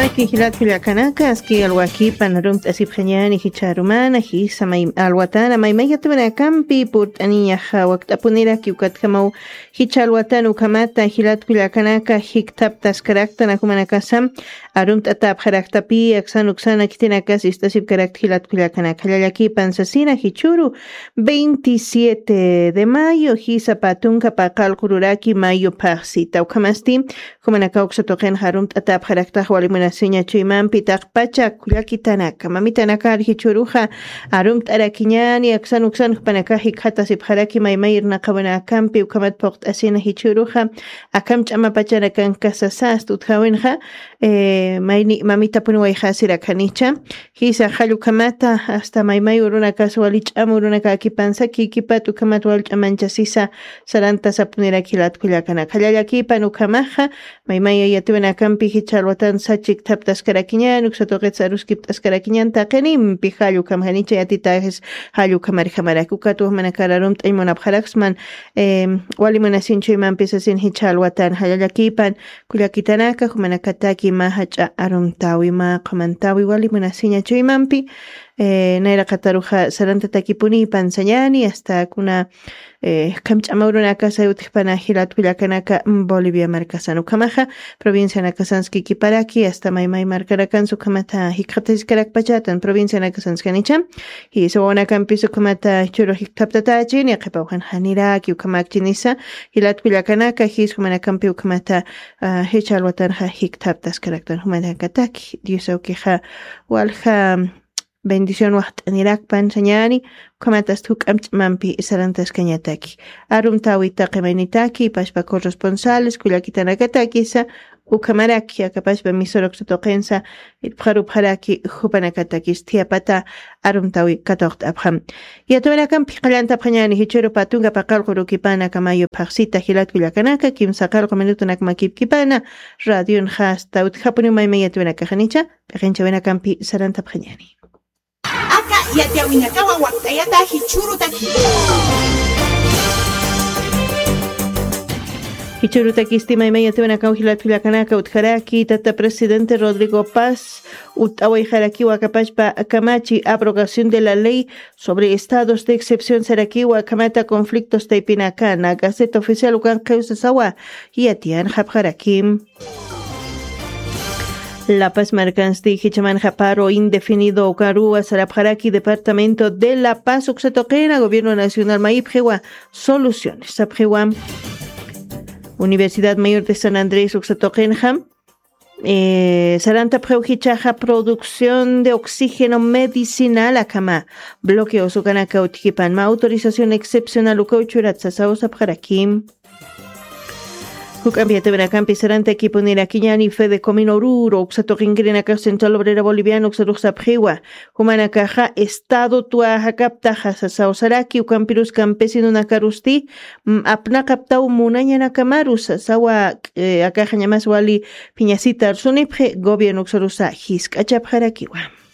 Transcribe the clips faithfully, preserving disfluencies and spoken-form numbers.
Aki jilat kullakanaka, aski alwakipan arumt'asipxañani jichharumana, jisa may alwatana, maymay yatawanakampi purt'aniñaxa wakt'apuniraki ukatjamaw jichha alwatana ukhamata jilat kullakanaka, jikthaptaskaraktan ajumanakasam, arumt'atapxaraktapi, aksan uksana khitinakas ist'asipkarakta jilat kullakanaka, llallakipan sasina jichhuru, veintisiete de mayo, jisa patunka paqallqururaki mayo phaxsita, ukhamasti, Jumanakaw uksa tuqinxa arumt'atapxaraktax wali munasiña chuymampi taqpacha kullakitanaka. Mamitanakar jichhüruxa arumt'arakiñäni, aksan uksan jupanakax jikxatasipxaraki maymay irnaqawinakampi, ukhamat phuqt'asina jichhüruxa akham ch'amapachanakankasasast utjäwinxa, eh, mayni mamitapuniwayxasirakhanicha. Jisa, jall ukhamata, hasta maymay urunakas wali ch'am urunakäkipan sakikipat, ukhamat wal ch'amanchasisa, sarantasapunirak jilat kullakanaka. Llallakipan ukhamaxa, maymay yatiwinakampi jichha alwatan sachikthaptaskarakiñän, uksa tuqits aruskipt'askarakiñän, taqinimpi jall ukham janicha yatitaxis jall ukhamarjamarak. Ukat jumanakar arumt'añ munapxaraksman, em, wali munasiñ chuymampi sasin jichha alwatan, llallakipan, kullakitanaka, jumanakataki mä jach'a arumtäwi, mä qhumantäwi wali munasiña chuymampi, eh, nayraqataruxa sarantatakipunipan sañäni, hasta kuna, eh, akham ch'ama urunakasa utjpana jilat kullakanaka, mm, Bolivia markasan. Ukhamaxa, provincianakasanskikiparaki, hasta maymay markanakansa ukhamata jikxatasiskarakpachatan, provincianakasanskanicha, jisa wawanakampis ukhamata jichhüru jikthaptatächini, qhipaw jan janiraki, ukhamäkchinisa, jilat kullakanaka, jis jumanakampi ukhamata, ah, jichha alwatanxa jikthaptaskaraktan jumanakataki. Dios awkixa walja bendición waxt'anirakpan sañäni, ukhamatast juk'amp ch'amampi sarantaskañataki. Arumtäwi taqi maynitaki, pachpa corresponsales, kullakitanakatakisa, ukhamaraki, aka pachpa emisora uksa tuqinsa, irpxarupxaraki, jupanakatakis thiyapata arumtäwi katuqt'apxam. Yatawinakampi qallantapxañäni jichhüru patunka paqallqurukipana aka mayo phaxsita jilat kullakanaka, kimsa qallqu minutunak makipkipana, radionxa hasta utjapuniw maymay yatawinakaxanicha, p'iqinchawinakampi sarantapxañäni. Aka yatiyäwinakawa wakt'ayata jichhürutaki. Jichhürutakisti maymay yatiyäwinakaw jilat kullakanaka utjaraki, tata presidente Rodrigo Paz, utt'awayxarakiwa aka pachpa kamachi, abrogación de la ley sobre estados de excepción sarakiwa, akhamata conflictos taypinakana, Gaceta Oficial ukan qhiw sasawa, yatiyanxapxarakim. La Paz markansti jichhamanxa paro indefinido ukaruwa sarapxaraki departamento de La Paz uksa tuqina gobierno nacional mayipxiwa soluciones sapxiwa. Universidad Mayor de San Andrés uksa tuqinxa, eh, sarantapxiw jichhaxa producción de oxígeno medicinal akhama bloqueos ukanaka utjipan mä autorización excepcional ukaw churat sasaw sapxarakim. Juk'amp yatawinakampi sarantakipunirakiñäni Fedecomino Oruro, uksa tuqinkirinakax Central Obrera Boliviana uksarux sapxiwa. Jumanakaxa estado tuwaxakaptaxa sasaw saraki, ukampirus campesinonakarusti, mm, apnaqaptaw munañanakamarus sasawa, eh, akaxañamas wali phiñasitar sunipxi, gobierno uksarusa jisk'achapxarakiwa.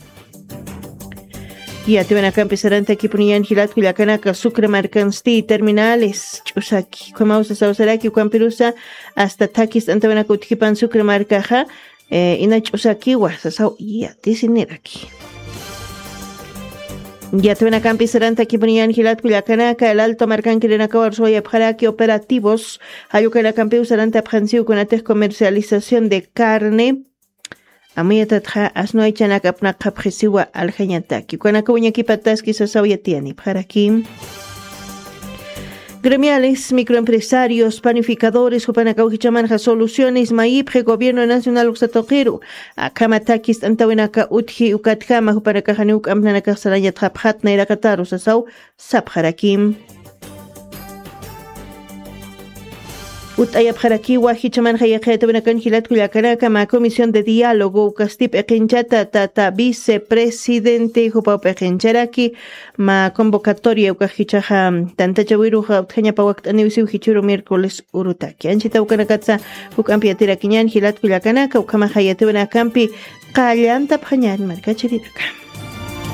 Yatiyäwinakampi sarantakipuniñäni jilat kullakanaka Sucre markansti terminales ch'usaki, ukhamaw sasaw saraki, ukampirusa hasta thakhi ist'antawinaka utjipan Sucre markaxa, eh, ina ch'usakiwa sasaw yatisiniraki. Yatiyäwinakampi sarantakipuniñäni jilat kullakanaka, El Alto markankirinakawa arusuwayapxaraki operativos, jall ukanakampiw sarantapxansiw kunatix comercialización de carne, amuyatatxa asno aychanak apnaqapxisiwa aljañataki. Ukanaka wiñakipataski sasaw yatiyanipxaraki. Gremiales, microempresarios, panificadores, jupanakaw jichhamanxa soluciones mayipxi gobierno nacional uksa tuqiru. Akhama thakhi ist'antawinaka utji ukatjama jupanakaxa janiw juk'amp nanakax sarañatxapxät nayraqataru sasaw sapxarakim. Utt'ayapxarakiwa jichhamanxa yaqha yatiyäwinakan jilat kullakanaka mä comisión de diálogo ukasti p'iqinchata tata vicepresidente jupaw p'iqincharaki mä convocatoria ukax jichhaxa tantachawiruxa utjañapa wakt'aniw siw jichhüru miércoles urutaki. Anchhita ukanakatsa juk'amp yatirakiñän jilat kullakanaka, ukhamaxa yatiyäwinakampi qallantapxañän markachirinaka.